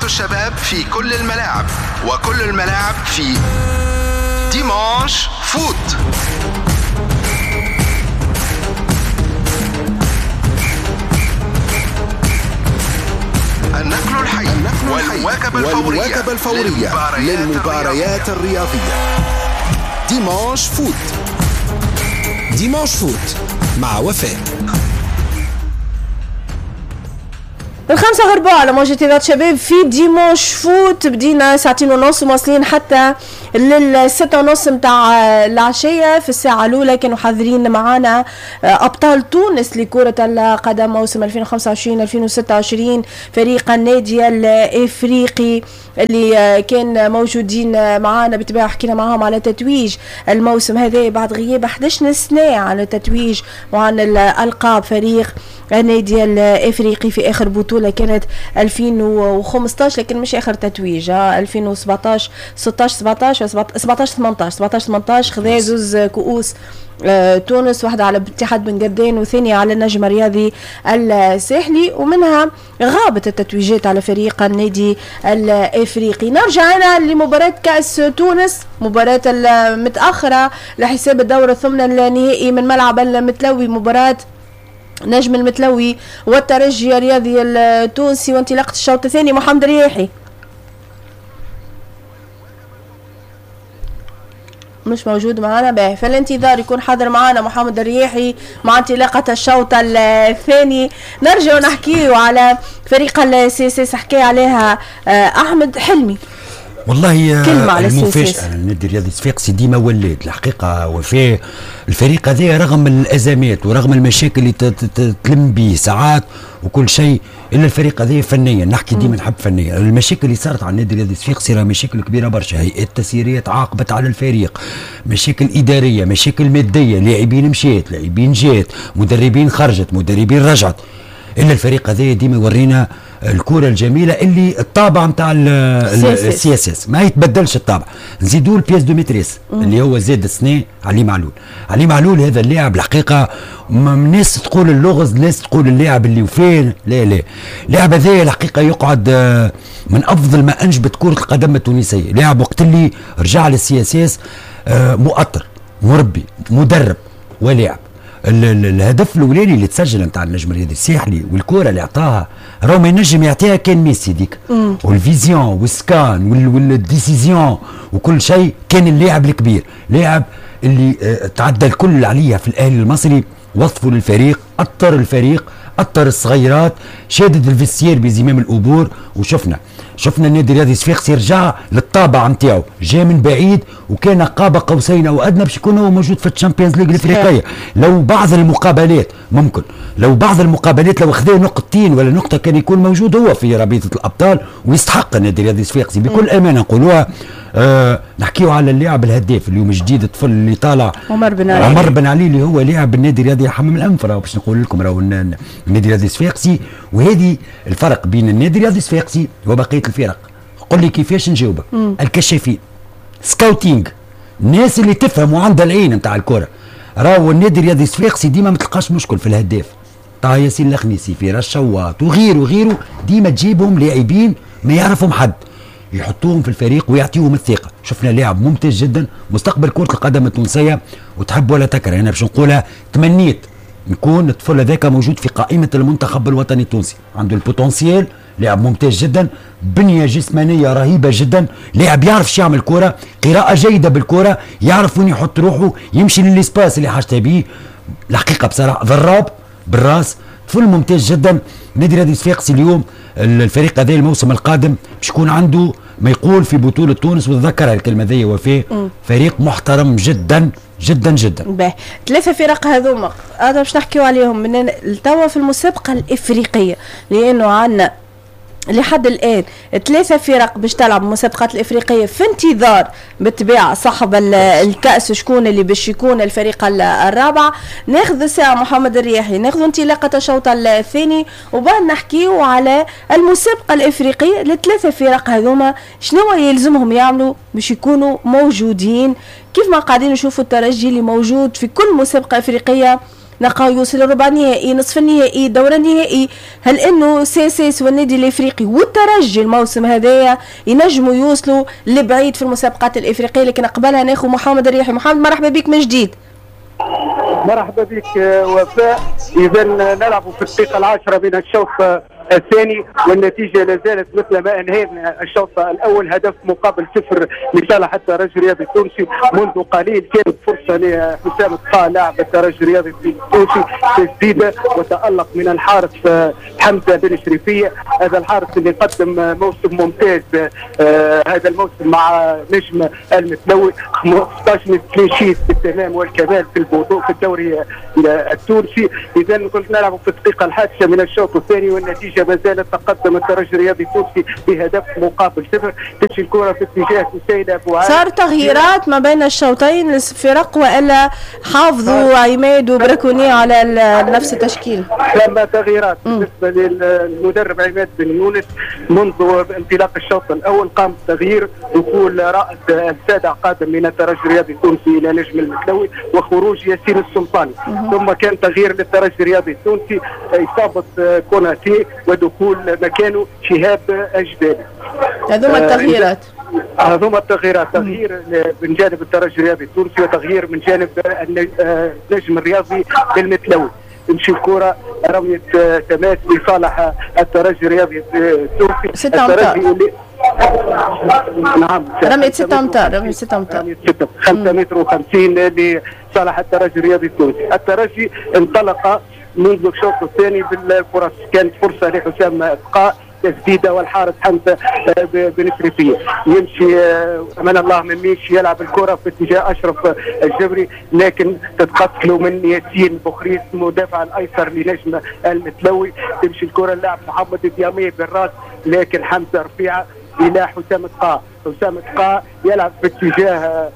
الشباب في كل الملاعب وكل الملاعب في Dimanche Foot. النقل الحي والمواكبة الفورية للمباريات الرياضية. Dimanche Foot. Dimanche Foot مع وفاء. 5:15 على موجة إذاعة شباب في Dimanche Foot. بدينا 2:30 وواصلين حتى 6:30 متاع العشية. في الساعة الأولى كانوا حاضرين معانا أبطال تونس لكرة القدم موسم 2025-2026، فريق النادي الإفريقي اللي كان موجودين معانا. بالطبيعة حكينا معاهم على تتويج الموسم هذا بعد غياب 11 سنة عن التتويج وعن الألقاب. فريق النادي الإفريقي في آخر بطولة كانت 2015، لكن مش آخر تتويج، 2017 16 17 17 18 17 18 خذا زوز كؤوس تونس، واحدة على اتحاد بن قردان وثانية على النجم الرياضي الساحلي، ومنها غابت التتويجات على فريق النادي الافريقي. نرجع أنا لمباراة كأس تونس، مباراة المتأخرة لحساب الدور الثمن النهائي من ملعب المتلوي، مباراة نجم المتلوي والترجي الرياضي التونسي، وانطلاقة الشوط الثاني. محمد الرياحي مش موجود معنا، باهي في الانتظار يكون حاضر معنا محمد الرياحي مع انطلاقة الشوط الثاني. نرجع نحكيه على فريق ال CSS، حكى عليها احمد حلمي. والله كلمة على المفاجأة النادي الرياضي الصفاقسي ديما ولات الحقيقة، وفاء الفريق هذا رغم الأزمات ورغم المشاكل اللي تلم به ساعات وكل شيء، إلا الفريق هذا فنيا، نحكي ديما نحب فنيا. المشاكل اللي صارت على النادي الرياضي الصفاقسي راه مشاكل كبيرة برشا، هيئات تسييرية تعاقبت على الفريق، مشاكل إدارية، مشاكل مادية، لاعبين مشات، لاعبين جات، مدربين خرجت، مدربين رجعت، إلا الفريق هذا ديما يورينا الكرة الجميلة اللي الطابع نتاع ال CSS ما يتبدلش الطابع. نزيدوا ال pièce de maîtresse اللي هو زاد السنة علي معلول. علي معلول هذا اللاعب الحقيقة الناس تقول اللغز، الناس تقول اللاعب اللي وفين، لا لا، اللاعب هذا الحقيقة يقعد من أفضل ما أنجبت كرة القدم التونسية. لاعب وقت اللي رجع لل CSS مؤطر، مربي، مدرب ولاعب. الهدف الاولاني اللي تسجل نتاع النجم الرياضي الساحلي والكره اللي عطاها راهو ما ينجم يعطيها كان ميسي ديك، وال vision وال scan وال décision وكل شيء، كان اللاعب الكبير، لاعب اللي تعدى الكل عليها في الاهلي المصري، وظفوا للفريق، اطر الفريق، اطر الصغيرات، شادد ال vestiaire بزمام الأبور. وشفنا النادي الرياضي الصفاقسي رجع للطابع نتاعو، جا من بعيد وكان قاب قوسين او ادنى باش يكون هو موجود في ال Champions League الافريقية. لو بعض المقابلات ممكن، لو بعض المقابلات لو خذا نقطتين ولا نقطة كان يكون موجود هو في رابطه الابطال، ويستحق النادي الرياضي الصفاقسي بكل امانه نقولوها. نحكيو على اللاعب الهداف اليوم جديد، الطفل اللي طالع عمر بن علي، عمر بن علي اللي هو لاعب النادي الرياضي حمام الانف، باش نقول لكم راهو النادي الرياضي الصفاقسي. وهذه الفرق بين النادي الرياضي الصفاقسي وبقية الفرق. قل لي كيفاش نجاوبك. الكشافين، scouting، الناس اللي تفهم وعندها العين نتاع الكره. راهو النادي الرياضي الصفاقسي ديما ما تلقاش مشكل في الهداف، طه ياسين الخنيسي، فراس شواط وغيره وغيره، ديما تجيبهم لاعبين ما يعرفهم حد، يحطوهم في الفريق ويعطيهم الثقة. شفنا لاعب ممتاز جدا، مستقبل كره القدم التونسية، وتحب ولا تكره انا باش نقولها، تمنيت نكون الطفل هذاك موجود في قائمة المنتخب الوطني التونسي، عنده ال potentiel، لاعب ممتاز جدا، بنيه جسمانيه رهيبة جدا، لاعب يعرف شو يعمل كره، قراءة جيدة بالكرة، يعرف وين يحط روحه، يمشي لل espace اللي حاجته بيه. الحقيقة بصراحة ضراب بالراس، طفل ممتاز جدا. نادي الرياضي الصفاقسي اليوم الفريق هذا الموسم القادم باش يكون عنده ما يقول في بطولة تونس، وتذكرها الكلمة ذي وفاء، فريق محترم جدا جدا جدا. باهي، ثلاثة فرق هذوما هذا باش نحكيو عليهم من توا في المسابقة الإفريقية، لأنه عندنا لحد الآن ثلاثة فرق باش تلعب المسابقات الإفريقية في انتظار بالطبيعة صاحب الكأس شكون اللي باش يكون الفريق الرابع. ناخذ ساعة محمد الرياحي، ناخذ انطلاقة الشوط الثاني وبعد نحكيو على المسابقة الإفريقية للثلاثة فرق هذوما شنو يلزمهم يعملوا باش يكونوا موجودين، كيف ما قاعدين نشوفوا الترجي اللي موجود في كل مسابقة إفريقية نلقاو يوصل لربع نهائي، نصف النهائي، دور النهائي. هل انه CSS والنادي الافريقي والترجي الموسم هذايا ينجموا يوصلوا لبعيد في المسابقات الافريقية؟ لكن قبلها ناخذ محمد الرياحي. محمد مرحبا بك من جديد. مرحبا بك وفاء. اذا نلعب في الدقيقة 10 من الشوط الثاني والنتيجة لا زالت مثل ما انهينا الشوط الاول، هدف مقابل 0 لصالح الترجي الرياضي التونسي. منذ قليل كانت فرصة لحسام الطا لاعب الترجي الرياضي التونسي، تسديده وتالق من الحارس حمزة بن شريفيه، هذا الحارس اللي قدم موسم ممتاز هذا الموسم مع نجم المتلوي، 15 clean sheet بالتمام والكمال في البطولة في الدوري التونسي. اذا كنت نلعب في الدقيقة 11 من الشوط الثاني والنتيجة ما زالت تقدم الترجي الرياضي التونسي بهدف مقابل 0. تمشي الكره في اتجاه سيد ابو عال. صار تغييرات ما بين الشوطين الفرق والا حافظوا عماد وبركوني على نفس التشكيل؟ ثم تغييرات بالنسبة للمدرب عماد بن يونس منذ انطلاق الشوط الاول قام بتغيير دخول رائد السادع قادم من الترجي الرياضي التونسي الى نجم المتلوي وخروج ياسين السلطاني. ثم كان تغيير للترجي الرياضي التونسي، اصابه كوناتي ودخول مكانه شهاب الجبالي. هذوما التغييرات. هذوما التغييرات، تغيير من جانب الترجي الرياضي التونسي وتغيير من جانب النجم الرياضي بالمتلوي. تمشي الكرة رمية تماس لصالح الترجي الرياضي التونسي. 6 أمتار. نعم رمية 6 أمتار، رمية 6 أمتار، 5 متر و50 لصالح الترجي الرياضي التونسي. الترجي انطلق منذ الشوط الثاني بالفرص، كانت فرصة لحسام بقاء تسديده والحارس حمزة بن شريفيه. يمشي امان الله مميش يلعب الكره في اتجاه اشرف الجبري، لكن تتقتل من ياسين بوخريس مدافع الايسر لنجم المتلوي. تمشي الكره اللاعب محمد ديامي بالراس، لكن حمزة رفيعة الى حسام تقا. حسام تقا يلعب في اتجاه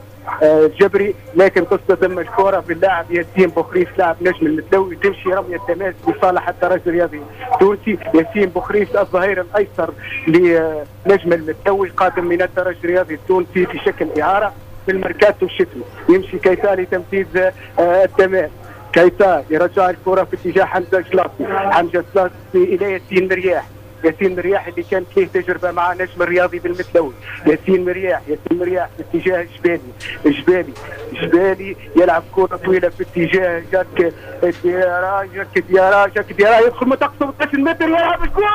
الجبري، لكن تصطدم الكره باللاعب ياسين بوخريس لاعب نجم المتلوي. تمشي رمية تماس لصالح الترجي الرياضي التونسي. ياسين بوخريس الظهير الايسر لنجم المتلوي قادم من الترجي الرياضي التونسي في شكل اعاره في الميركاتو الشتوي. يمشي كيتا لتنفيذ التماس. كيتا يرجع الكره في اتجاه حمزة جلاصي. حمزة جلاصي الى ياسين مرياح. ياسين مرياح اللي كانت فيه تجربه مع نجم الرياضي بالمتلوي. ياسين مرياح، ياسين مرياح في اتجاه الجبالي، الجبالي، الجبالي يلعب كره طويلة في اتجاه جاك ديارا، جاك ديارا، جاك ديارا يدخل منطقة 18 متر يلعب الكره.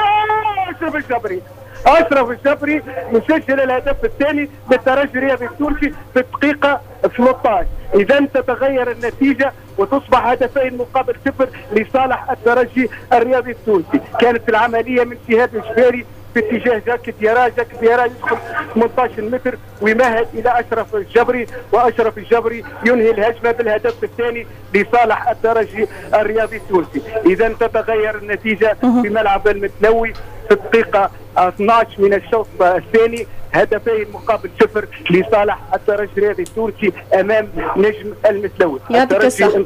اشرف الجبري، اشرف الجبري يسجل الهدف الثاني للترجي الرياضي التونسي في الدقيقة 13. اذا تتغير النتيجة وتصبح هدفين مقابل 0 لصالح الترجي الرياضي التونسي. كانت العملية من شهاب الجبالي في اتجاه جاك ديارا. جاك ديارا يدخل 18 متر ويمهد الى اشرف الجبري، واشرف الجبري ينهي الهجمة بالهدف الثاني لصالح الترجي الرياضي التونسي. اذا تتغير النتيجة في ملعب المتلوي في الدقيقة 12 من الشوط الثاني، هدفين مقابل 0 لصالح الترجي الرياضي التونسي امام نجم المتلوي. يعطيك الصحة.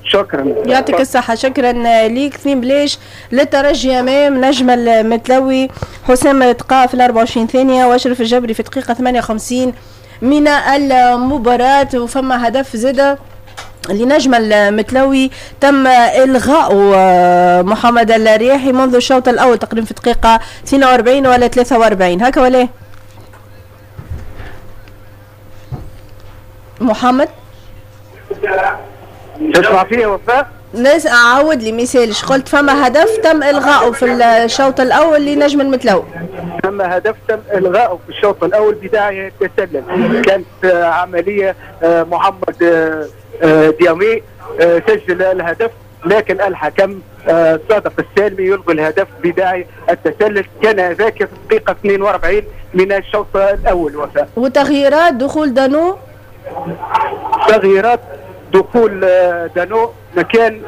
شكرا. يعطيك الصحة، شكرا ليك. 2 بلاش للترجي امام نجم المتلوي. حسام تقا في 24 ثانية واشرف الجبري في دقيقة 58 من المباراة. وفما هدف زادة لنجم المتلوي تم إلغاء محمد الرياحي منذ الشوط الأول تقريبا في دقيقة 42 ولا 43 هكا ولا محمد؟ تسمع فيا وفاء؟ ناس عاود لي مثالش قلت فما هدف تم إلغائه في الشوط الأول لنجم المتلوي. ثم هدف تم إلغائه في الشوط الأول بداية التسلل، كانت عملية محمد ديامي سجل الهدف، لكن الحكم صادق السالمي يلغي الهدف بداعي التسلل. كان ذاك في الدقيقة 42 من الشوط الأول وفاء. وتغييرات دخول دانو؟ تغييرات دخول دانو مكان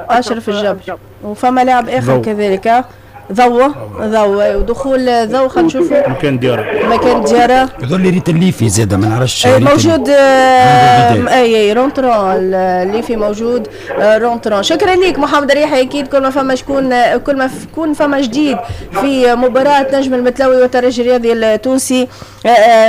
أشرف الجبري، وفما لاعب آخر كذلك ضوء ودخول ضوء خلينا نشوفوا مكان ديارة، مكان ديارة يظل لي ريت الليفي زاد ما نعرفش موجود. اي rentrant الليفي موجود rentrant. شكرا لك محمد الريحي. اكيد كل ما فما شكون، كل ما يكون فما جديد في مباراة نجم المتلوي والترجي الرياضي التونسي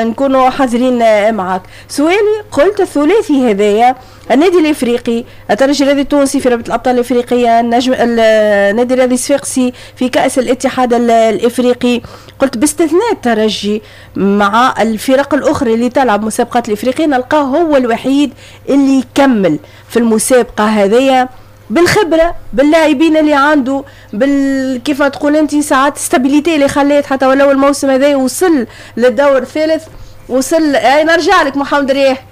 نكونوا حاضرين معاك. سؤالي قلت الثلاثي هذايا النادي الافريقي، الترجي الرياضي التونسي في رابطه الابطال الافريقية، النجم النادي الرياضي الصفاقسي في كاس الاتحاد الافريقي. قلت باستثناء الترجي مع الفرق الاخرى اللي تلعب مسابقات الافريقية نلقاه هو الوحيد اللي يكمل في المسابقة هذيا بالخبرة، باللاعبين اللي عنده، كيف تقول انت ساعات stabilité اللي خلات حتى ولو الموسم هذا وصل للدور الثالث وصل. نرجع لك محمد رياح.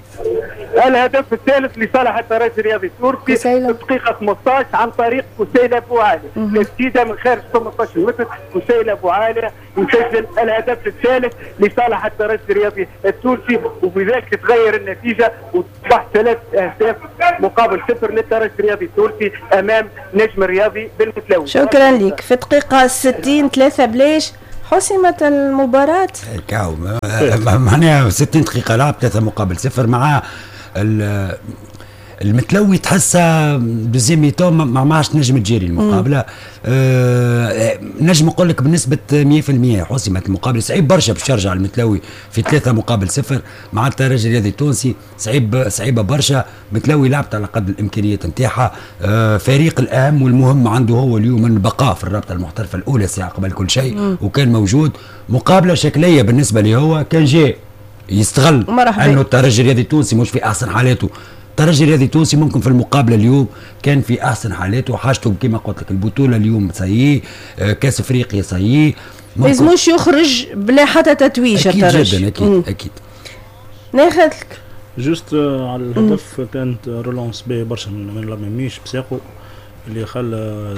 الهدف الثالث لصالح الترجي الرياضي التونسي في الدقيقة 15 عن طريق كسيلة بوعالي، تسديدة من خارج 18 متر، كسيلة بوعالي يسجل الهدف الثالث لصالح الترجي الرياضي التونسي، وبذلك تتغير النتيجة وتصبح 3 أهداف مقابل 0 للترجي الرياضي التونسي أمام نجم الرياضي بالمتلوي. شكرا لك. في الدقيقة 60 3 بلاش حسمت المباراة. كاو معناها 60 دقيقة لعب 3 مقابل 0 مع المتلوي، تحسها deuxième mi-temps ما عادش نجم تجيري المقابلة. نجم نقول لك بنسبة 100% حسمت المقابلة. صعيب برشا باش يرجع المتلوي في 3 مقابل 0 مع الترجي الرياضي التونسي، صعيبة برشا. متلوي لعبت على قد الامكانيات نتاعها. فريق الاهم والمهم عنده هو اليوم البقاء في الرابطة المحترفه الاولى ساعة قبل كل شيء، وكان موجود. مقابله شكلية بالنسبة لي، هو كان جاي يستغل انه الترجي الرياضي التونسي مش في احسن حالاته. الترجي الرياضي التونسي ممكن في المقابلة اليوم كان في احسن حالاته، حاجته كما قلت لك البطولة اليوم ça y est، كاس افريقيا ça y est، ما لازموش يخرج بلا حتى تتويج الترجي. اكيد جدا، اكيد اكيد. ناخذ لك juste على الهدف، كانت relance باهي برشا من لاميميش بساقه اللي خلى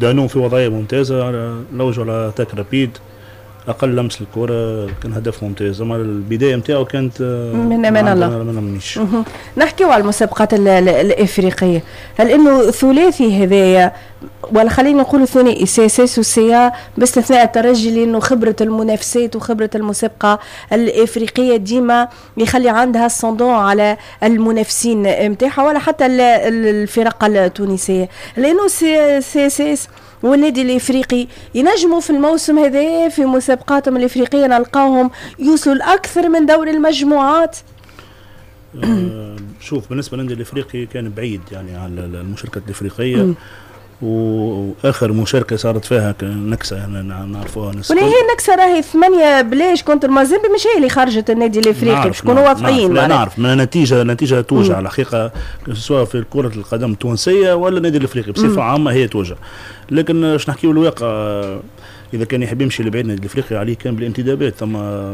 دانون في وضعية ممتازة، لوجوا على attaque rapide، اقل لمس الكره، كان هدف ممتاز. اما البداية نتاعو كانت من امان الله. نحكيو على المسابقات الافريقية، هل انه ثلاثي هذايا ولا خلينا نقولوا ثنائي CSS و CA باستثناء الترجي، لانه خبره المنافسات وخبره المسابقة الافريقية ديما يخلي عندها ascendant على المنافسين نتاعها ولا حتى الفرق التونسية، لانه CSS والنادي الافريقي ينجموا في الموسم هذا في مسابقاتهم الافريقية نلقاهم يوصلوا لاكثر من دور المجموعات. شوف بالنسبة للنادي الافريقي كان بعيد يعني على المشاركة الافريقية، واخر مشاركة صارت فيها نكسه يعني نعرفوها. ولا هي النكسه راهي 8 بلاش contre مازيمبي، مش هي اللي خرجت النادي الافريقي باش نكونوا واضحين. لا نعرف من النتيجة توجع الحقيقة، سواء في كره القدم التونسية ولا النادي الافريقي بصفة عامة هي توجع. لكن باش نحكيو الواقع، اذا كان يحب يمشي لبعيد النادي الافريقي عليه كان بالانتدابات، ثم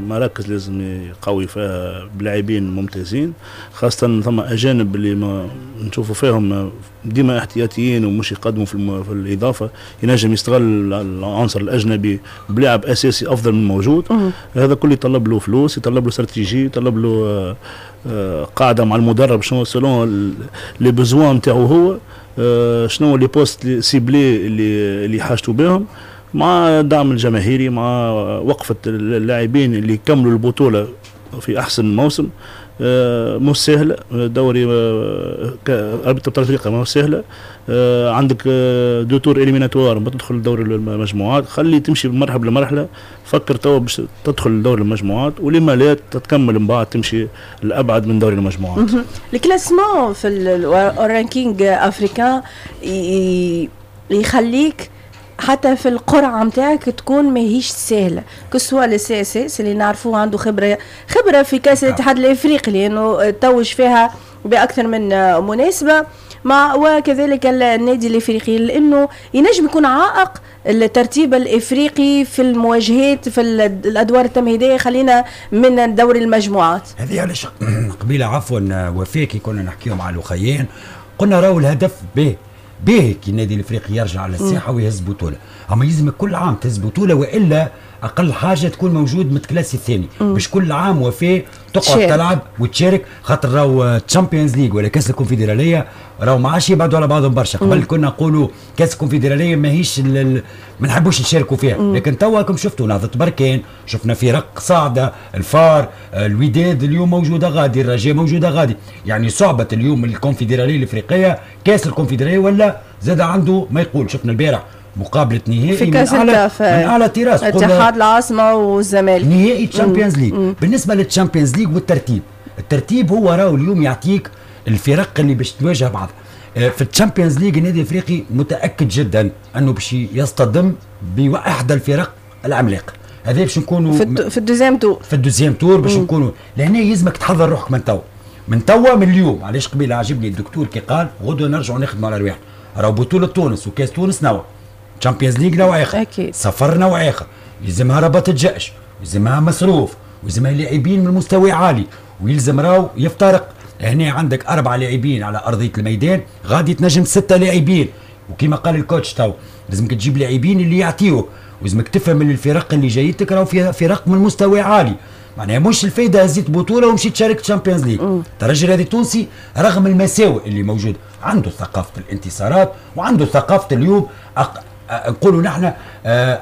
مراكز لازم يقوي فيها بلاعبين ممتازين، خاصة ثم اجانب اللي ما نشوفوا فيهم ديما احتياطيين ومش يقدموا في الاضافة، ينجم يستغل العنصر الاجنبي بلاعب اساسي افضل من الموجود. هذا كله يطلب له فلوس، يطلب له استراتيجية، يطلب له قاعدة مع المدرب شنو selon les besoins نتاعو هو، شنو les postes ciblés اللي حاجته بهم، مع الدعم الجماهيري، مع وقفة اللاعبين اللي كملوا البطولة في أحسن موسم. مش سهلة دوري رابطة أبطال أفريقيا، مش سهلة. عندك deux tours éliminatoires ما تدخل دوري المجموعات، خلي تمشي مرحلة لمرحلة، فكر توا باش تدخل دوري المجموعات، ولما لا تتكمل من بعد تمشي الأبعد من دوري المجموعات. ال classement في ال ranking africain يخليك حتى في القرعة نتاعك تكون ماهيش سهلة، que ce soit le CSS اللي نعرفوه عنده خبره في كاس الاتحاد الافريقي لانه توج فيها باكثر من مناسبة، مع وكذلك النادي الافريقي لانه ينجم يكون عائق الترتيب الافريقي في المواجهات في الادوار التمهيدية، خلينا من دوري المجموعات. هذه علاش قبيلة عفوا وفاء كي كنا نحكيو مع الاخيين قلنا راهو الهدف به باهي كي النادي الافريقي يرجع على الساحة ويهز بطوله، اما يلزمك كل عام تهز بطوله والا اقل حاجة تكون موجود متكلاسي الثاني، باش كل عام وفاء تقعد تلعب وتشارك، خاطر راهو Champions League ولا كاس الكونفدراليه راهو ما عادش يبعدوا على بعضهم برشا. قبل كنا نقولوا كاس الكونفدراليه ماهيش ما نحبوش نشاركوا فيها، لكن توا راكم شفتوا نهضة بركان، شفنا فرق صاعده، الفار، الوداد اليوم موجودة غادي، الرجاء موجودة غادي، يعني صعبة اليوم الكونفدراليه الافريقية، كاس الكونفدراليه ولا زاد عنده ما يقول. شفنا البارح مقابله نهائي في كاس الكاف من اعلى طراز، اتحاد العاصمة والزمالك، نهائي Champions League. بالنسبة لل Champions League والترتيب، الترتيب هو راهو اليوم يعطيك الفرق اللي باش تواجه بعض في ال Champions League. النادي الافريقي متاكد جدا انه باش يصطدم باحدى الفرق العملاقة، هذا باش نكونوا في ال deuxième tour، في ال deuxième tour باش نكونوا لهنا. يلزمك تحضر روحك من توا، من توا، من اليوم. علاش قبيلة عجبني الدكتور كي قال غدوه نرجعوا نخدموا على رواحنا، راهو بطوله تونس وكاس تونس نوع، Champions League نوع اخر، سفر نوع اخر، يلزمها ربط الجأش، يلزمها مصروف، ويلزمها لاعبين من مستوى عالي، ويلزم راهو يفترق. هنا عندك 4 لاعبين على ارضية الميدان، غادي تنجم 6 لاعبين، وكما قال ال coach تو لازمك تجيب لاعبين اللي يعطيوك، ولازمك تفهم اللي الفرق اللي جايتك راهو فيها فرق من مستوى عالي. معناها مش الفايدة هزيت بطوله ومشيت شاركت Champions League. الترجي الرياضي التونسي رغم المساوئ اللي موجودة عنده ثقافة الانتصارات، وعنده ثقافة اليوم نقولوا نحن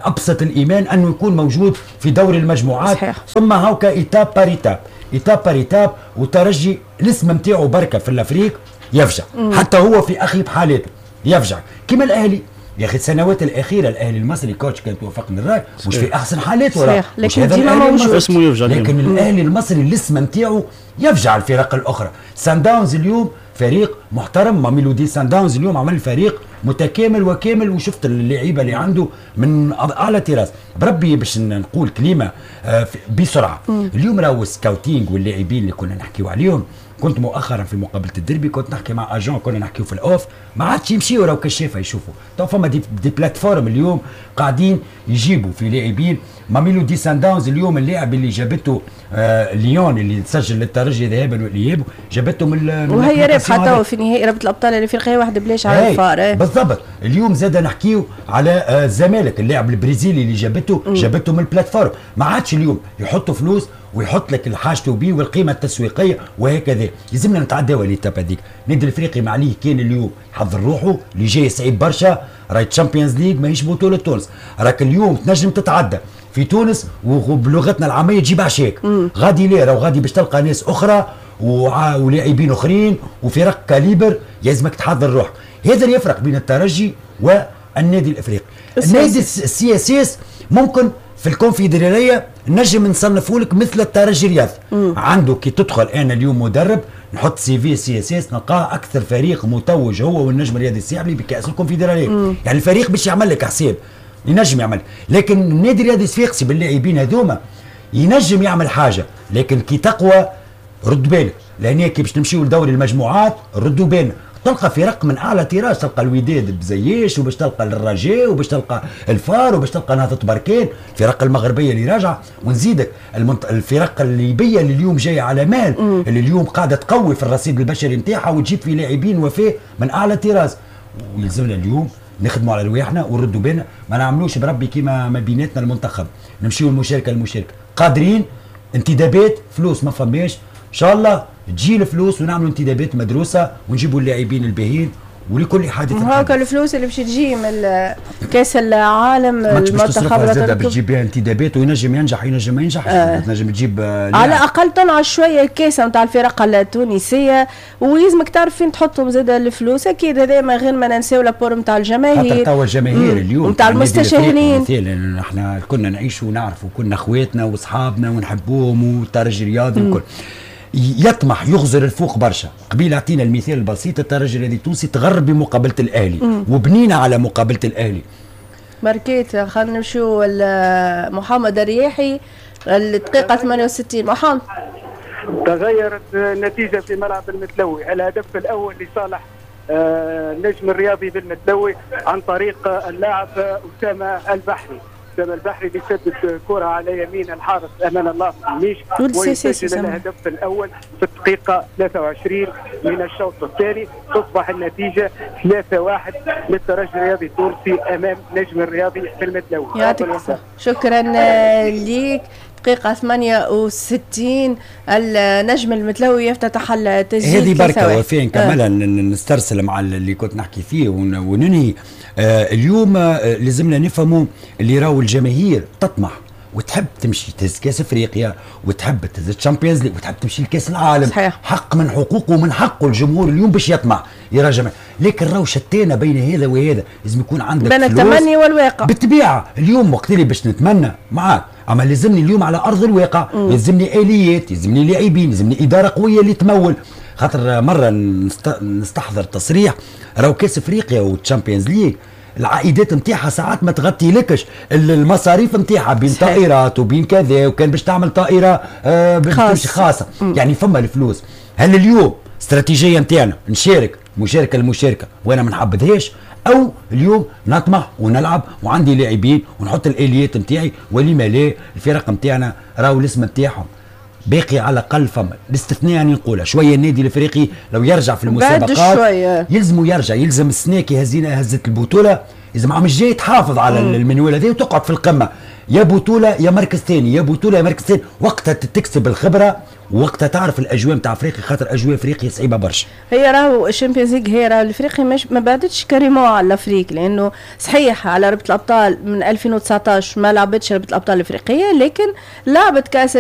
ابسط الايمان انه يكون موجود في دوري المجموعات. صحيح. ثم هاكا étape par étape، étape par étape، وترجي الاسم نتاعو بركة في l'Afrique يفجع. حتى هو في اخيب حالاته يفجع كما الاهلي. يا اخي السنوات الاخيرة الاهلي المصري coach كان توافقني الراي مش في احسن حالاته، صحيح، لكن ديما موجود اسمه يفجع. لكن الاهلي المصري الاسم نتاعو يفجع الفرق الاخرى. سان داونز اليوم فريق محترم، ماميلودي سان داونز اليوم عمل فريق متكامل وكامل، وشفت اللعيبة اللي عنده من اعلى طراز. بربي باش نقول كلمة بسرعة. اليوم راهو ال scouting واللاعبين اللي كنا نحكيو عليهم، كنت مؤخرا في مقابله الديربي كنت نحكي مع agent، كنا نحكيو في ال off، ما عادش يمشيو راهو كشافه يشوفوا. تو فما des plateformes اليوم قاعدين يجيبوا في لاعبين. ماميلودي سان داونز اليوم اللاعب اللي جابته ليون اللي تسجل للترجي ذهابا والاياب، جابته من وهي رابحه تو في نهائي رابطه الابطال الافريقية 1-0 على الفار. بالضبط. اليوم زاد نحكيو على الزمالك اللاعب البرازيلي اللي جابته جابته من ال plateforme. ما عادش اليوم يحطوا فلوس ويحط لك الحاجته بيه والقيمة التسويقية وهكذا. لازمنا نتعداو l'étape هذيك. النادي الافريقي ما عليه كان اليوم حضر روحه اللي جاي صعيب برشا، راهي Champions League ماهيش بطوله تونس، راك اليوم تنجم تتعدى في تونس وبلغتنا العامية تجيب عشاك. غادي ليه راهو غادي باش تلقى ناس اخرى ولاعبين اخرين وفرق calibre، لازمك تحضر روحك. هذا اللي يفرق بين الترجي والنادي الافريقي. النادي ال CSS ممكن في الكونفدراليه نجم نصنفوا لك مثل الترجي الرياضي. عنده كي تدخل انا اليوم مدرب نحط CV CSS نلقاه اكثر فريق متوج هو والنجم الرياضي الساحلي بكاس الكونفدراليه. يعني الفريق باش يعمل لك حساب ينجم يعمل، لكن النادي الرياضي الصفاقسي باللاعبين هذوما ينجم يعمل حاجة، لكن كي تقوى رد بالك، لان كي باش نمشيو لدوري المجموعات ردوا بالنا، تلقى فرق من اعلى طراز، تلقى الوداد بزياش، وباش تلقى الرجاء، وباش تلقى الفار، وباش تلقى نهضة بركان، الفرق المغربية اللي راجعه، ونزيدك الفرق الليبية اللي اليوم جاية على مال، اللي اليوم قاعدة تقوي في الرصيد البشري نتاعها وتجيب في لاعبين وفاء من اعلى طراز. ويلزمنا اليوم نخدموا على رواحنا ونردوا بالنا، ما نعملوش بربي كيما ما بيناتنا المنتخب، نمشيو المشاركة المشاركة، قادرين انتدابات فلوس ما فماش، ان شاء الله تجي الفلوس ونعملوا انتدابات مدروسة ونجيبوا اللاعبين الباهيين ولكل حادث. هاكا الفلوس اللي باش تجي من كاس العالم المنتخب زاد باش تجيب بها انتدابات وينجم ينجح ينجم ما ينجحش. تنجم تجيب على الاقل تنعش شوية الكاسه نتاع الفرق التونسية، ويلزمك تعرف فين تحطهم زاد الفلوس. اكيد هذا ما غير ما ننساو l'apport نتاع الجماهير، خاطر توا الجماهير اليوم نتاع المستشهرين. مثلا احنا كنا نعيشوا ونعرفوا، كنا اخواتنا واصحابنا ونحبوهم والترجي الرياضي وكل يطمح يغزر الفوق برشا. قبيل اعطينا المثال البسيط، الترجي الرياضي التونسي تغرب بمقابله الاهلي وبنينا على مقابله الاهلي. ماركيت خلينا نمشيو محمد الرياحي الدقيقة 68. محمد، تغيرت النتيجة في ملعب المتلوي، الهدف الاول لصالح النجم الرياضي بالمتلوي عن طريق اللاعب اسامة البحري. اسامة البحري اللي سدد كره على يمين الحارس امان الله ميش ويسجل الهدف الاول في الدقيقة 23 من الشوط الثاني. تصبح النتيجة 3-1 للترجي الرياضي التونسي امام نجم الرياضي في المتلوي. يعطيك الصحة، شكرا ليك. دقيقة 68 النجم المتلوي يفتتح التسجيل. هذه بركة وفاء نكملها نسترسل مع اللي كنت نحكي فيه وننهي. اليوم لازمنا نفهموا اللي راهو الجماهير تطمح وتحب تمشي تهز كاس افريقيا وتحب تهز ال Champions League وتحب تمشي لكاس العالم. صحيح. حق من حقوقه ومن حقه الجمهور اليوم باش يطمع يراجع، لكن راهو شتينا بين هذا وهذا، لازم يكون عندك بين التمني والواقع. بالطبيعة اليوم وقت اللي باش نتمنى معاك، اما لازمني اليوم على ارض الواقع، لازمني اليات، لازمني لاعبين، لازمني ادارة قوية اللي تمول. خاطر مرة نستحضر تصريح راهو كاس افريقيا وال Champions League العائدات نتاعها ساعات ما تغطي لكش المصاريف نتاعها بين طائرات وبين كذا، وكان باش تعمل طائره باش تمشي خاصه. يعني فما الفلوس. هل اليوم استراتيجية نتاعنا نشارك مشاركة المشاركة وانا ما نحبذهاش، او اليوم نطمح ونلعب وعندي لاعبين ونحط الاليات نتاعي، ولما لا؟ الفرق نتاعنا راهو الاسم نتاعهم باقي على الاقل. فما الاستثناء، يعني نقولها شويه، النادي الافريقي لو يرجع في المسابقات يلزم يرجع، يلزم السنة كي هزينا هزت البطوله، لازم عام الجاي تحافظ على المنوال هذا وتقعد في القمه، يا بطوله يا مركز ثاني، يا بطوله يا مركز ثاني، وقتها تكسب الخبرة وقتها تعرف الاجواء نتاع افريقيا، خاطر اجواء افريقيا صعيبة برشا. هي راهو ال Champions League، هي راهو الافريقي مش ما بعدتش carrément على l'Afrique، لانه صحيح على رابطه الابطال من 2019 ما لعبتش رابطه الابطال الافريقيه، لكن لعبت كاس.